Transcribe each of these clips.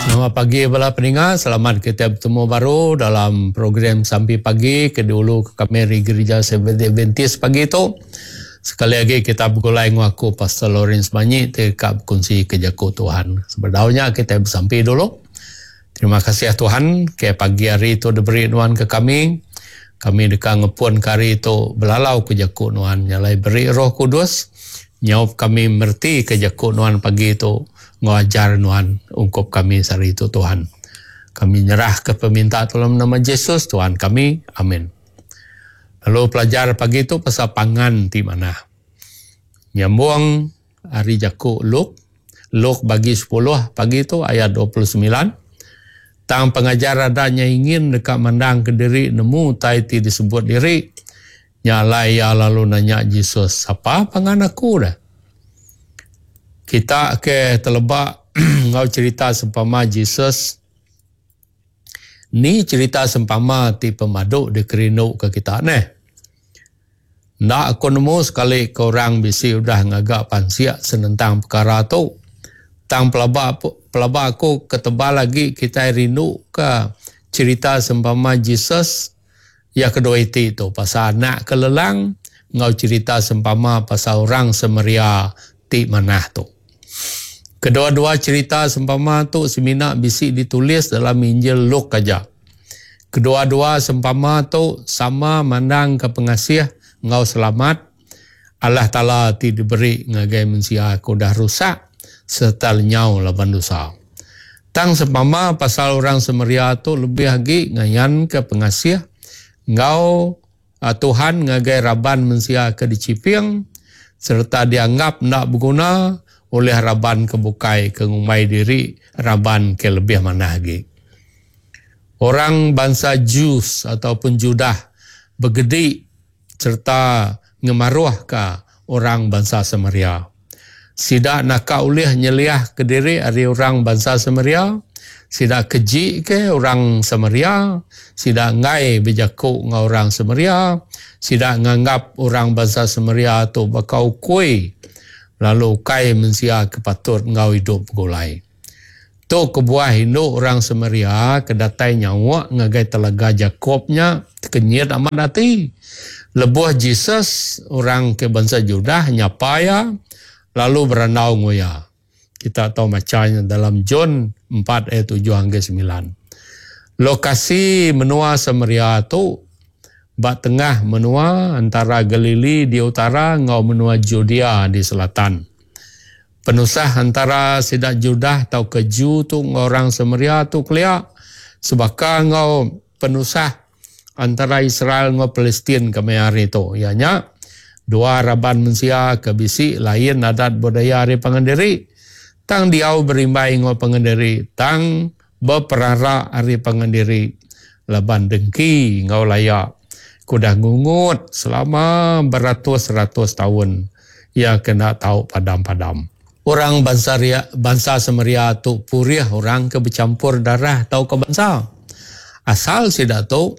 Selamat pagi bala peninga, selamat kitai betemu baru dalam program Sampi Pagi ke diulu ke kami ari Gerija Seventh Day Adventist pagi tu. Sekali agi kita begulai enggau aku Pastor Lawrence Manyi ti ka bekunsi ke jaku Tuhan. Sebedau nya kitai besampi dulu. Terima kasih Tuhan ke pagi hari tu diberi nuan ke kami. Kami deka ngepun ke hari tu belalau ke jaku nuan nya alai beri Roh Kudus nyaup kami mereti ke jaku nuan pagi tu enggau ajar nuan ungkup kami sehari tu Tuhan. Kami nyerah ke peminta tu dalam nama Jesus Tuhan kami. Amin. Lalu pelajar pagi tu pasal pangan ti manah. Nyambung Ari jaku Luke, Luke bagi sepuluh pagi tu ayat 29, Tang pengajar ada nya ingin deka mandangka diri nemu utai ti disebut diri, nya alai iya lalu nanya Jesus, Sapa pangan aku deh? Kita ke teleba enggau cherita sempama Jesus, ni cherita sempama ti pemadu dikerinduka kita neh? Enda aku nemu sekali ke orang bisi udah ngaga pansik senentang pekara tu. Tang pelaba pelaba aku ke tebal agi kitai rindu ke cherita sempama Jesus iya kedua iti tu pasal anak ke lelang enggau cherita sempama pasal orang Samaria ti manah tu. Kedua-dua cherita sempama tu semina bisi ditulis dalam Injil Luke aja. Kedua-dua sempama tu sama mandangka pengasih enggau selamat Allah Taala ti diberi ngagai mensia ke udah rusak sereta lenyau laban dosa. Tang sempama pasal orang Samaria tu lebih agi ngayanka pengasih enggau Tuhan ngagai raban mensia ke dichiping sereta dianggap enda beguna ulih raban ke bukai ke ngumbai diri raban ke lebih manah agi. Orang bansa Jews ataupun Judah begedi sereta ngemaruhka orang bansa Samaria. Sida naka ulih nyeliahka diri ari orang bansa Samaria, sida kejika orang Samaria, sida enggai bejaku enggau orang Samaria, sida nganggap orang bansa Samaria tu baka ukui lalu ukai mensia ke patut enggau idup begulai. Tu kebuah indu orang Samaria ke datai nyauk ngagai telaga Jakop nya tekenyit amat ati lebuh Jesus, orang ke bansa Judah, nyapa iya lalu berandau enggau iya. Kita tau macha nya dalam John empat ayat tujuh ngagai semilan. Lokasi menua Samaria tu ba tengah menua entara Galili di utara enggau menua Judea di selatan. Penusah entara sida Judah tauka Jew tu enggau orang Samaria tu kelia sebaka enggau penusah entara Israel enggau Palestin kemaya hari tu, iya nya dua raban mensia ke bisi lain adat budaya ari pangan diri tang diau berimbai enggau pangan diri tang beperara ari pangan diri laban dengki enggau laya ke udah ngungut selama beratus-ratus taun iya ke enda tau padam-padam. Orang bansa ria bansa Samaria tu purih orang ke bechampur darah tauka bansa. Asal sida tu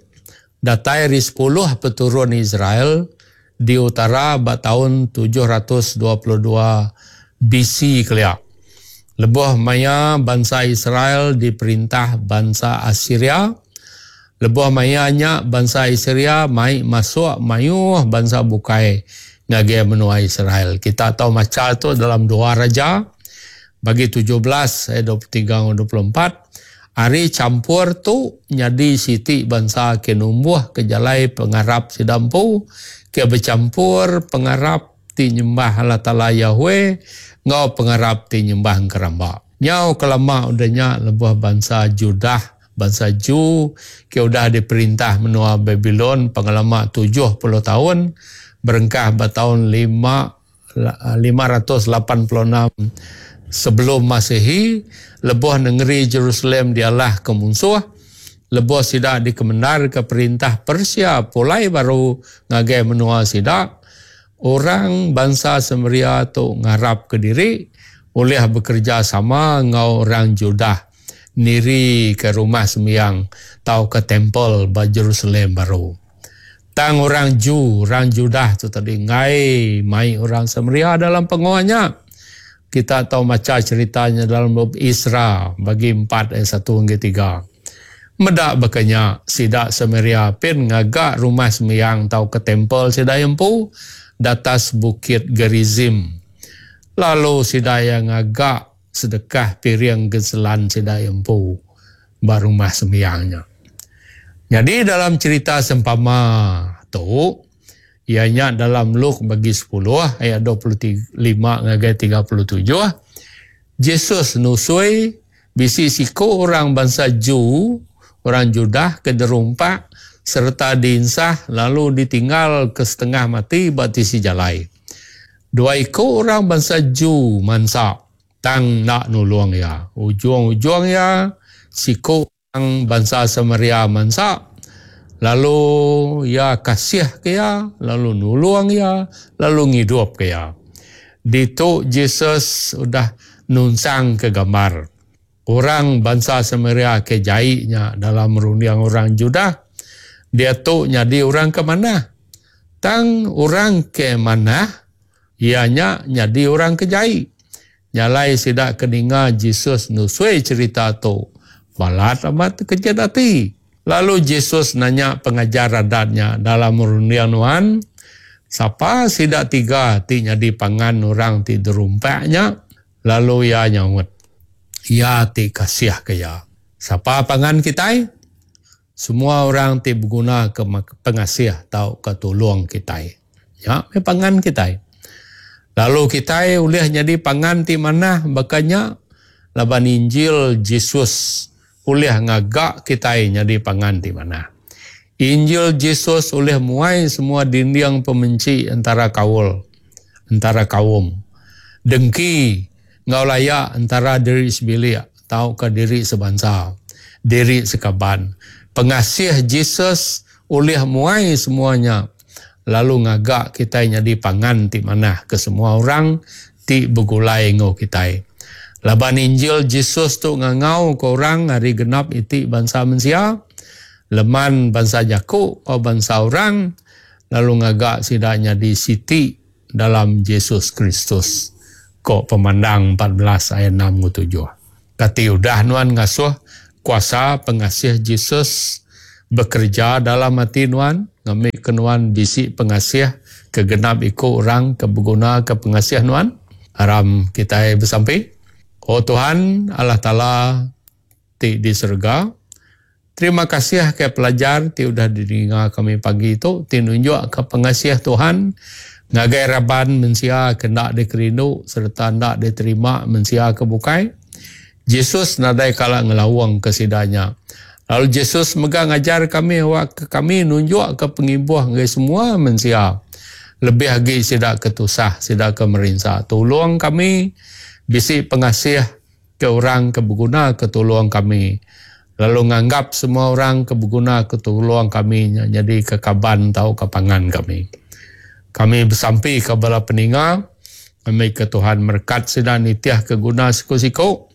datai ari sepuluh peturun Israel di utara ba taun 722 BC kelia, lebuh maya bansa Israel diperintah bansa Asiria. Lebuh maya nya, bansa Asiria mai masuk mayuh bansa bukai ngagai menua Israel. Kita tau macha tu dalam Dua Raja bagi 17 ayat 23 enggau 24. Ari champur tu nyadi siti bansa ke numbuhka jalai pengarap sida empu ke bechampur pengarap ti nyembah Allah Taala Yahweh enggau pengarap ti nyembah engkeramba. Nyau kelama udah nya lebuh bansa Judah, bansa Jew, ke udah diperintah menua Babilon pengelama 70 taun, berengkah ba taun lima 586 sebelum Masihi, lebuh nengeri Jerusalem dialahka munsuh, lebuh sida dikemendarka perintah Persia pulai baru ngagai menua sida, orang bansa Samaria tu ngarapka diri ulih bekerejasama enggau orang Judah nirika rumah sembiang tauka temple ba Jerusalem baru. Tang orang Jew, orang Judah tu tadi enggai mai orang Samaria dalam pengawa nya. Kita tau macha cherita nya dalam bup Isra bagi empat ayat satu hingga tiga. Meda baka nya, sida Samaria pin ngaga rumah sembiang tauka temple sida iya empu datas Bukit Gerizim. Lalu sida iya ngaga sedekah piring genselan sida iya empu ba rumah sembiang nya. Nyadi dalam cherita sempama tu, iya nya dalam Luke bagi sepuluh ayat 25 ngagai 37, Jesus nusui bisi siku orang bansa Jew, orang Judah ke derumpak sereta diinsah lalu ditinggalka setengah mati ba tisi jalai. Dua iku orang bansa Jew mansa tang enda nulung iya. Ujung-ujung iya, siku orang bansa Samaria mansa, lalu iya kasihka iya, lalu nulung iya, lalu ngidupka iya. Ditu Jesus udah nunsangka gambar orang bansa Samaria ke jai nya dalam runding orang Judah, diatu nyadi orang ke manah. Tang orang ke manah iya nya nyadi orang ke jai. Nya alai sida ke ninga Jesus nusui cherita tu balat amat tekejit ati. Lalu Jesus nanya pengajar adat nya dalam runding nuan, Sapa sida tiga ti nyadi pangan orang ti derumpak nya? Lalu iya nyaut, Iya ti kasihka iya. Sapa pangan kitai? Semua orang ti begunaka pengasih tauka tulung kitai. Nya meh pangan kitai. Lalu kitai ulih nyadi pangan ti manah baka nya laban Injil Jesus ulih ngaga kitai nyadi pangan ti manah. Injil Jesus ulih muai semua dinding pemenchi entara kaul, entara kaum, dengki enggau laya entara diri sebilik tauka diri sebansa, diri sekaban. Pengasih Jesus ulih muai semua nya lalu ngaga kitai nyadi pangan ti manah ke semua orang ti begulai enggau kitai. Laban Injil Jesus tu ngangauka orang ari genap iti bansa mensia, leman bansa jaku enggau bansa orang, lalu ngaga sida nyadi siti dalam Jesus Kristus, ko Pemandang 14 ayat 6 enggau 7. Kati udah nuan ngasuh kuasa pengasih Jesus bekereja dalam ati nuan ngambika nuan bisi pengasih ke genap iku orang ke begunaka pengasih nuan? Aram kitai besampi. O Tuhan Allah Taala ti di serega, terima kasih ke pelajar ti udah didinga kami pagi tu ti nunjukka pengasih Tuhan ngagai raban mensia ke enda dikerindu sereta enda diterima mensia ke bukai. Jesus nadai kala ngelaungka sida nya. Lalu Jesus mega ngajar kami awakka kami nunjukka pengibuh ngagai semua mensia, lebih agi sida ke tusah, sida ke merinsa. Tulung kami bisi pengasih ke orang ke begunaka tulung kami, lalu nganggap semua orang ke begunaka tulung kami nya nyadika kaban tauka pangan kami. Kami besampika bala peninga, ngambika Tuhan merekat sida nitihka guna siku-siku,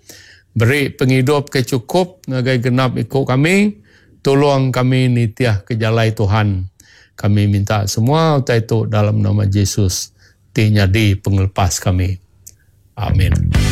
beri pengidup ke chukup ngagai genap iku kami, tulung kami nitihka jalai Tuhan. Kami minta semua utai tu dalam nama Jesus ti nyadi pengelepas kami. Amin.